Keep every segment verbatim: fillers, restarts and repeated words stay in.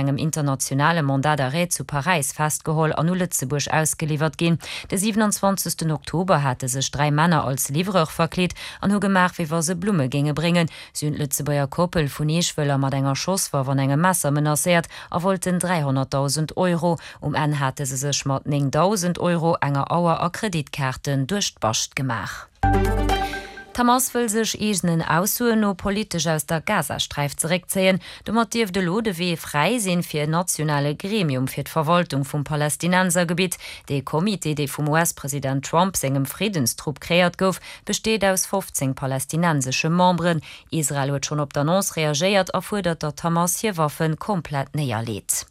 engem internationale Mandat d'arrêt zu Paräis festgeholl an u Lëtzebuerg ausgeliwwert ginn. De siwenanzwanzegsten Oktober hate sech dräi Männer als Livreur verkleet an hu gemaach, wéi wa se Blumme géinge bréngen. Si hunn d'Lëtzebuerger Koppel vun Eeschwëller mat enger Schosswaff an engem Messer menacéiert a wollten dräihonnertdausend Euro. Um Enn hate se sech mat néngdausend Euro, enger Auer a Kreditkaarten duerch d'Bascht gemaach. D'Hamas wëll sech eegenen Aussoen no politesch aus der Gazasträif zeréckzéien. Domat dierft elo de Wee fräi sinn fir en nationale Gremium fir d'Verwaltung vum Palästinensergebitt. Dee Comité, dee vum US-President Trump sengem Friddenstrupp kreéiert gouf, besteet aus fofzéng palästinensesche Memberen. Israel huet schonn op d'Annonce reagéiert a fuerdert, datt d'Hamas hir Waffe komplett néierleet.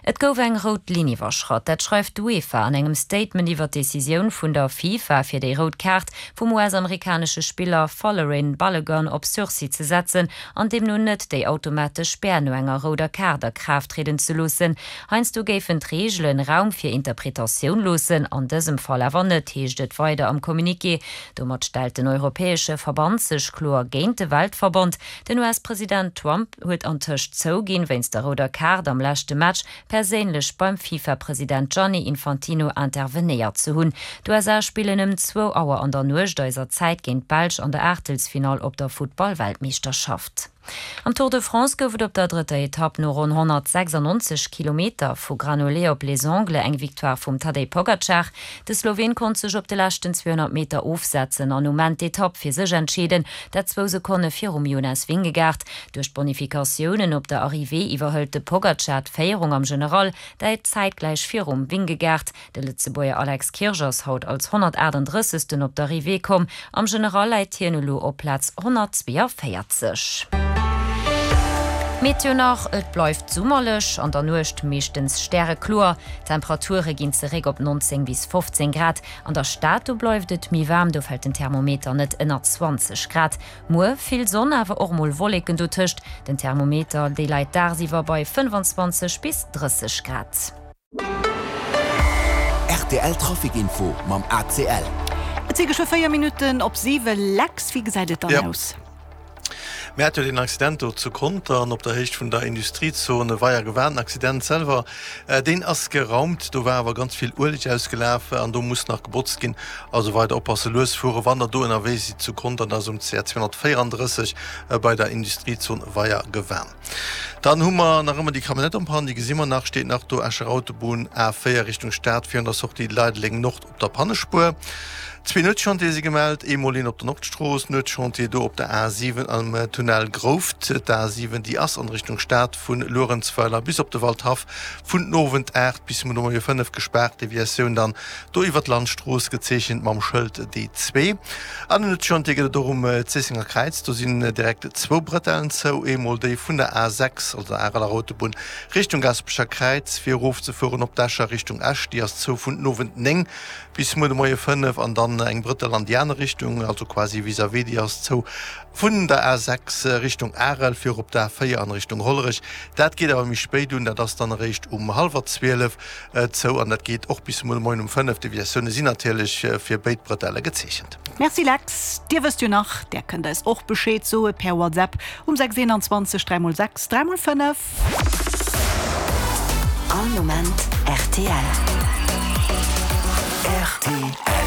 Et gouf eng rout Linn iwwerschratt. Dat schreift d'UEFA an engem Statement iwwer d'Decisioun vun der FIFA, fir déi rout Kaart vum U S-amerikanesche Spiller Folarin Balogun op Sursis ze setzen an deemno net déi automatesch Spär no enger rouder Kaart a Kraaft trieden ze loossen. Heiansdo géifen d'Reegelen Raum fir Interpretatioun loossen, an dësem Fall awer net, heescht et weider am Communiqué. Domat stellt den europäesche Verband sech kloer géint de Weltverband. Den U S-President Trump huet antëscht zouginn, wéinst der rouder Kaart am leschte Match perséinlech beim FIFA-President Gianni Infantino intervenéiert ze hunn. D'U S A spillen ëm zwou Auer an der Nuecht eiser Zäit géint d'Belsch an der Aachtelsfinall op der Futtball-Weltmeeschterschaft. Am Tour de France gouf et op der drëtter Etapp no ronn honnertsechsannonzeg Kilometer vu Granollers op Les Angles eng Victoire vum Tadej Pogacar. De Sloween konnt sech op de leschten zweehonnert Meter ofsetzen an um Enn d'Etapp fir sech entscheeden, dat zwou Sekonne virum Jonas Vingegaard. Duerch d'Bonifikatiounen op der Arrivée iwwerhëlt de Pogacar d'Féierung am General, dat zäitgläich virum Vingegaard. De Lëtzebuerger Alex Kirsch ass haut als honnertaachtenddrëssegsten op d'Arrivée komm. Am General läit hien elo op Plaz honnertzweeënvéierzeg. Meteo nach, Et bleift summerlech, an der Nuecht meeschtens stärekloer. D'Temperature ginn zeréck op nonzéng bis fofzéng Grad. An der Stad do bleift et méi waarm, do fält den Thermometer net ënner zwanzeg Grad. Muer vill Sonn, awer och mol Wolleken dotëscht. Den Thermometer dee läit dagsiwwer bei fënnefanzwanzeg bis drësseg Grad. R T L Trafic Info mam A C L. Et si geschwë véier Minutten op siwe. Lex, wéi gesäit et dann Ja. aus? Mir hate jo deen Accident do zu Contern op der Héicht vun der Industriezone Weier-Gewan. Den Accident selwer, deen ass geraumt. Do war awer ganz vill Ueleg ausgelaf an do muss nach gebotzt ginn. Also weider oppasse, lues fuere wann der do ënnerwee sidd zu Contern, dat ass um C R zweehonnertvéierandrësseg bei der Industriezon Weier-Gewan. Dann hu mer nach ëmmer déi Camionnette en panne, déi gesi mer nach, steet nach do, Escher Autobunn A véier Richtung Stad virun der Sortie Leideleng Nord op der Pannespuer. Zwee Nuetschantiere si gemellt, eemol een op der Nordstrooss, Nuetschantier do op der A siwen am Tunnel Grouft. D'A siwen, déi ass an Richtung Stad vu Luerenzweiler bis op de Waldhaff vun den Owend aacht bis muer de Moie fënnef gespaart, Deviatioun dann do iwwer d'Landstrooss, gezeechent mam Schëld D zwee. An en Nuetschantier gëtt et och um Zéissenger Kräiz, do sinn direkt zwou Bretellen zou, eemol déi vun der A sechs, also der Areler Autobunn, Richtung Gasperecher Kräiz fir erofzefueren op d'Escher Richtung Esch, déi ass zou vun den Owend néng bis muer de Moie fënnef an dann eng Brëttel an déi aner Richtung, also quasi vis-à-vis, déi ass zou vun der A sechs Richtung Arel fir op d'A véier an Richtung Hollerech. Dat geet awer méi spéit un, dat ass dann eréischt um hallwer zwielef zou an dat geet och bis muer de Moien um fënnef. Deviatioune sinn natierlech fir béid Brëtelle gezeechent. Merci Lex. Dir wësst jo nach, där kënnt eis och Bescheed soe per WhatsApp um sechs eenanzwanzeg dräi mol sechs dräi mol fënnef. All Moment rtl. R T L.